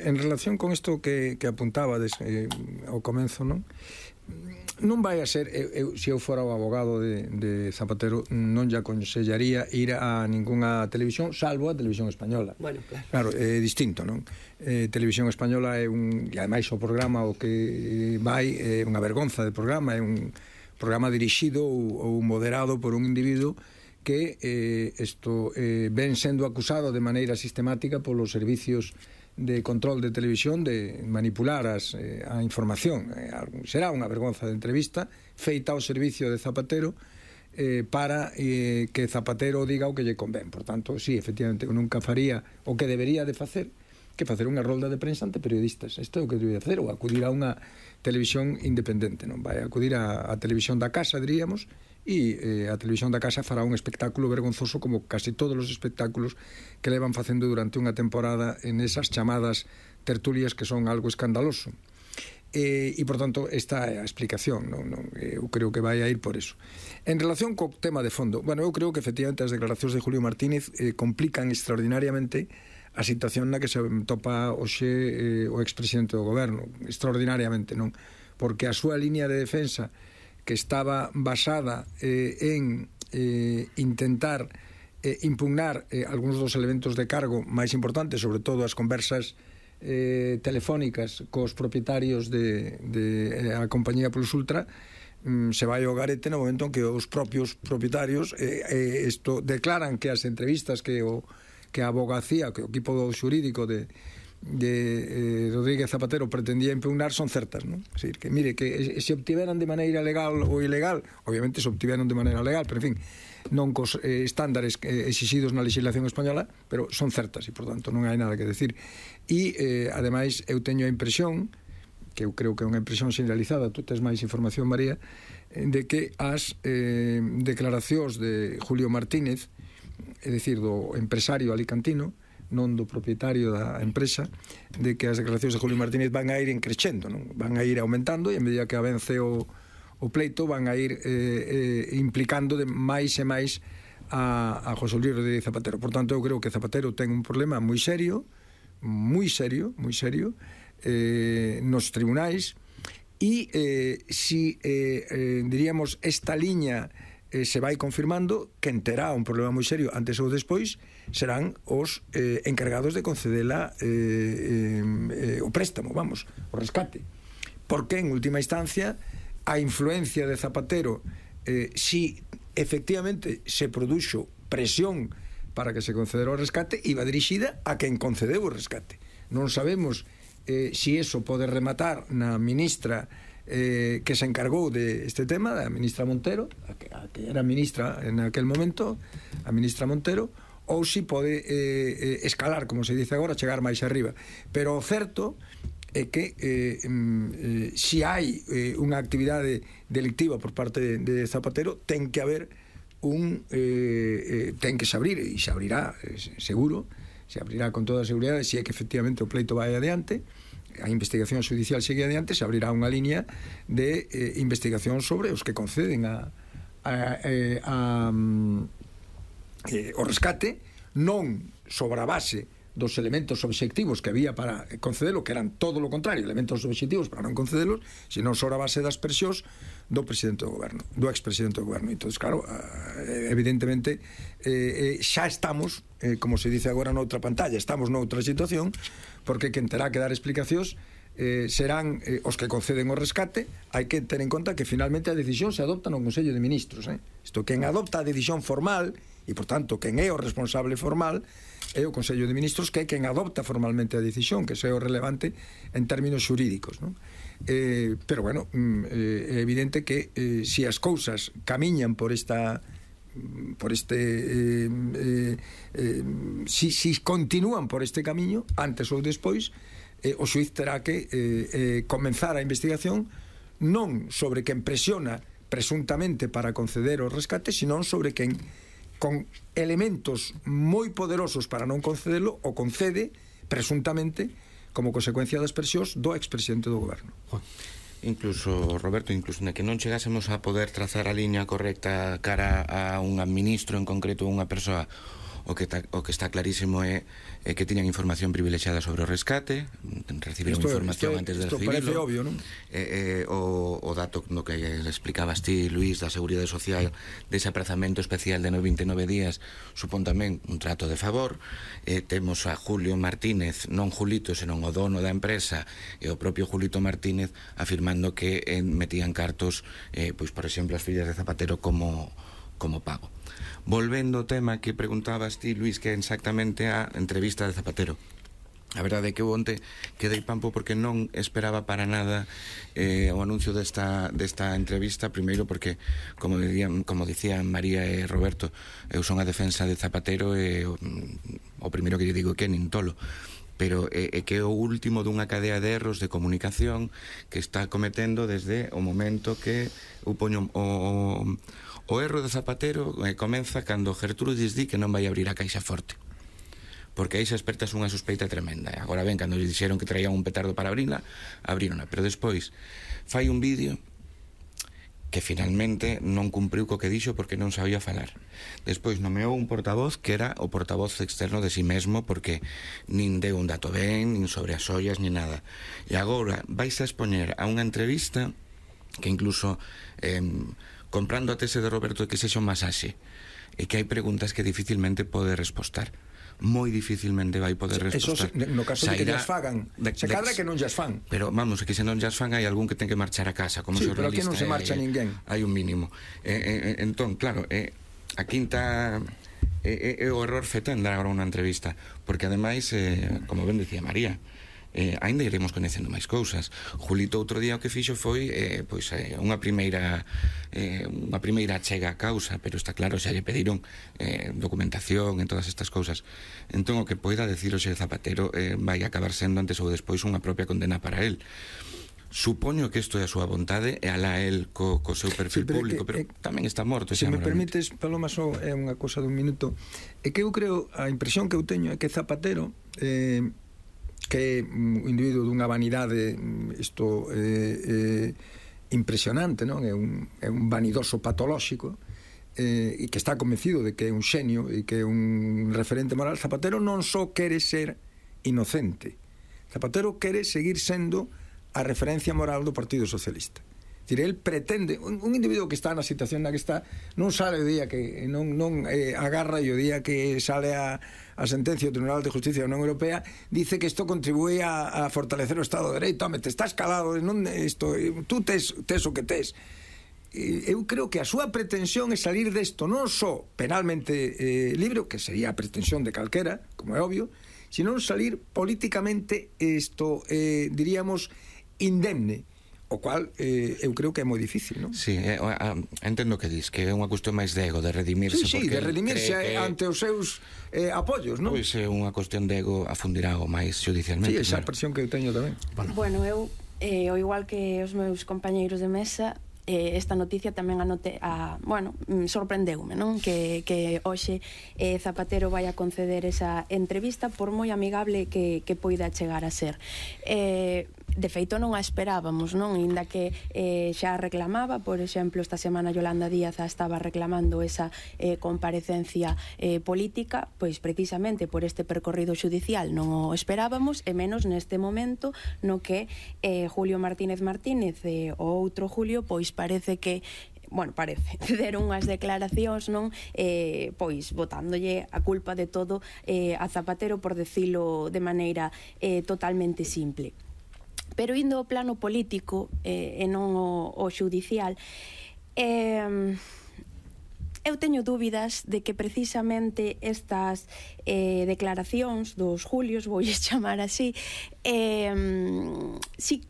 En relación con isto que apuntabades ao comenzo, non vai a ser, se eu fora o abogado de Zapatero, non lle aconsellaría ir a ninguna televisión, salvo a Televisión Española. Bueno, claro. Claro, é distinto, non? Televisión Española é e ademais o programa o que vai é unha vergonza de programa, é un programa dirixido ou moderado por un individuo que ven sendo acusado de maneira sistemática polos servicios de control de televisión de manipular a información. Será unha vergonza de entrevista feita ao servicio de Zapatero para que Zapatero diga o que lle convén. Por tanto, sí, efectivamente, nunca faría o que debería de facer, que facer unha rolda de prensa ante periodistas. Isto é o que debería facer, ou acudir a unha televisión independente, non vai acudir a televisión da casa, diríamos, e a televisión da casa fará un espectáculo vergonzoso como casi todos os espectáculos que levan facendo durante unha temporada en esas chamadas tertulias que son algo escandaloso. E, por tanto, esta é a explicación, eu creo que vai a ir por eso. En relación co tema de fondo, bueno, eu creo que efectivamente as declaracións de Julio Martínez complican extraordinariamente a situación na que se topa hoxe o expresidente do goberno, extraordinariamente, non? Porque a súa línea de defensa, que estaba basada en intentar impugnar algúns dos elementos de cargo máis importantes, sobre todo as conversas telefónicas cos propietarios de a compañía Plus Ultra, se vai ao garete no momento en que os propios propietarios declaran que as entrevistas que a abogacía, que o equipo xurídico de Rodríguez Zapatero pretendía impugnar son certas, non? É dicir, que mire, que se obtiveran de maneira legal ou ilegal, obviamente se obtiveron de maneira legal, pero en fin, non cos estándares exixidos na legislación española, pero son certas e, por tanto, non hai nada que decir. E, ademais, eu teño a impresión, que eu creo que é unha impresión generalizada, tú tes máis información, María, de que as declaracións de Julio Martínez, é dicir, do empresario alicantino, non do propietario da empresa, de que as declaracións de Julio Martínez van a ir encrechendo, non? Van a ir aumentando e a medida que avance o pleito van a ir implicando de máis e máis a José Luis Rodríguez Zapatero. Por tanto, eu creo que Zapatero ten un problema moi serio nos tribunais e si diríamos esta liña se vai confirmando, quen terá un problema moi serio antes ou despois serán os encargados de concedela o préstamo, vamos, o rescate, porque en última instancia a influencia de Zapatero, si efectivamente se produxo presión para que se concedera o rescate, iba dirixida a quen concedeu o rescate. Non sabemos si eso pode rematar na ministra que se encargou de este tema, a ministra Montero, a que era ministra en aquel momento, a ministra Montero, ou si pode escalar, como se dice agora, chegar máis arriba. Pero o certo é que si hai unha actividade delictiva por parte de Zapatero, ten que haber ten que se abrir, e se abrirá seguro, se abrirá con toda a seguridade, se é que efectivamente o pleito vai adiante, a investigación judicial segue adiante, se abrirá unha línea de investigación sobre os que conceden o rescate, non sobre a base dos elementos obxectivos que había para concedelo, que eran todo lo contrario, elementos obxectivos para non concedelos, sino sobre a base das presións do presidente do goberno, do expresidente do goberno. Entón, claro, evidentemente xa estamos, como se dice agora noutra pantalla, estamos noutra situación, porque quen terá que dar explicacións serán os que conceden o rescate. Hai que ter en conta que finalmente a decisión se adopta no Consello de Ministros. Isto, quen adopta a decisión formal, e por tanto quen é o responsable formal, é o Consello de Ministros, que é quen adopta formalmente a decisión, que é o relevante en términos xurídicos, non? Pero, bueno, é evidente que se as cousas camiñan por esta si continúan por este camiño, antes ou despois o xuiz terá que comenzar a investigación non sobre quen presiona presuntamente para conceder o rescate, sino sobre quen con elementos moi poderosos para non concedelo o concede presuntamente como consecuencia das presións do expresidente do goberno. Incluso, Roberto, incluso na que non chegásemos a poder trazar a liña correcta cara a un ministro en concreto, unha persoa O que está clarísimo é que tiñan información privilexiada sobre o rescate, recibiron información antes de recibirlo. Isto parece obvio, non? O dato no que explicabas ti, Luís, da Seguridade Social, dese aprazamento especial de 29 días, supón tamén un trato de favor. Temos a Julio Martínez, non Julito, senón o dono da empresa, e o propio Julito Martínez afirmando que metían cartos, pois, por exemplo, as fillas de Zapatero como pago. Volvendo ao tema que preguntabas ti, Luís, que é exactamente a entrevista de Zapatero. A verdade é que onte quedei pampo porque non esperaba para nada o anuncio desta entrevista. Primeiro porque, como dicían María e Roberto, eu son a defensa de Zapatero e o primeiro que lle digo que nin tolo, pero é que é o último dunha cadea de erros de comunicación que está cometendo desde o momento que o erro de Zapatero comeza cando Gertrudis di que non vai abrir a Caixa Forte, porque aí se espertas unha sospeita tremenda. Agora ben, cando lles dixeron que traían un petardo para abrila, abrírona, pero despois fai un vídeo que finalmente non cumpriu co que dixo porque non sabía falar. Despois nomeou un portavoz que era o portavoz externo de si mesmo, porque nin deu un dato ben, nin sobre as ollas, nin nada. E agora vais a expoñer a unha entrevista que incluso comprando a tese de Roberto de que sexa un masaxe, e que hai preguntas que dificilmente pode respostar. Moi dificilmente vai poder respostar. Eso, no caso de que llas fagan, se cadra que non llas fan. Pero vamos, que se non llas fan hai algún que ten que marchar a casa como xornalista. Pero aquí non se marcha ninguén. Hai un mínimo. Entón, claro, a quinta é o error feito en dar agora unha entrevista, porque ademais, como ben dicía María, ainda iremos conhecendo máis cousas. Julito outro día o que fixo foi unha primeira achega a causa, pero está claro, xa lle pediron documentación en todas estas cousas. Entón o que poida decir hoxe Zapatero vai acabar sendo antes ou despois unha propia condena para él. Supoño que isto é a súa vontade e alá el co seu perfil público, pero tamén está morto. Se me permites, Paloma, só é unha cousa dun minuto, é que eu creo, a impresión que eu teño é que Zapatero que é un individuo dunha vanidade impresionante, non? É un vanidoso patolóxico, e que está convencido de que é un xenio e que é un referente moral. Zapatero non só quere ser inocente, Zapatero quere seguir sendo a referencia moral do Partido Socialista. Él pretende, un individuo que está na situación na que está, non sale o día que non agarra, e o día que sale a sentencia do Tribunal de Justicia da Unión Europea dice que isto contribúe a fortalecer o Estado de Dereito. Home, te estás calado, tú tes o que tes. Eu creo que a súa pretensión é salir desto non só penalmente libre, que sería a pretensión de calquera, como é obvio, sino salir políticamente diríamos indemne, o cual eu creo que é moi difícil, non? Sí, entendo que dis, que é unha cuestión máis de ego, de redimirse. Sí, de redimirse ante os seus apoios, non? Pois é unha cuestión de ego afundirá o máis judicialmente. Sí, esa presión que eu teño tamén. Bueno, eu, ao igual que os meus compañeiros de mesa, esta noticia tamén sorprendeume, non? Que hoxe Zapatero vai a conceder esa entrevista, por moi amigable que poida chegar a ser. De feito non a esperábamos, non? Inda que xa reclamaba, por exemplo, esta semana Yolanda Díaz estaba reclamando esa comparecencia política, pois precisamente por este percorrido xudicial non o esperábamos, e menos neste momento no que Julio Martínez o outro Julio, pois parece que deron unhas declaracións, non, pois botándolle a culpa de todo a Zapatero, por decilo de maneira totalmente simple. Pero indo ao plano político e non ao xudicial, eu teño dúbidas de que precisamente estas declaracións dos Julios, voulles chamar así, sí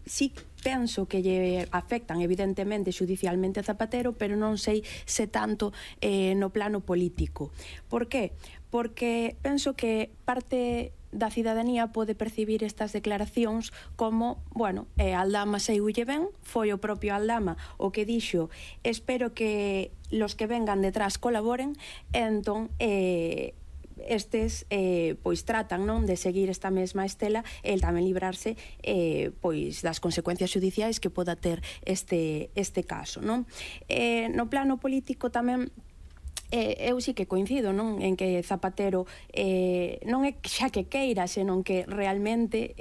penso que lle afectan evidentemente xudicialmente a Zapatero, pero non sei se tanto no plano político. Por qué? Porque penso que parte da cidadanía pode percibir estas declaracións como, Aldama seiulle ben, foi o propio Aldama o que dixo, espero que los que vengan detrás colaboren, entón estes pois tratan, non, de seguir esta mesma estela e tamén librarse pois das consecuencias judiciais que poda ter este caso, non? No plano político tamén eu sí que coincido, non, en que Zapatero non é xa que queira, senón que realmente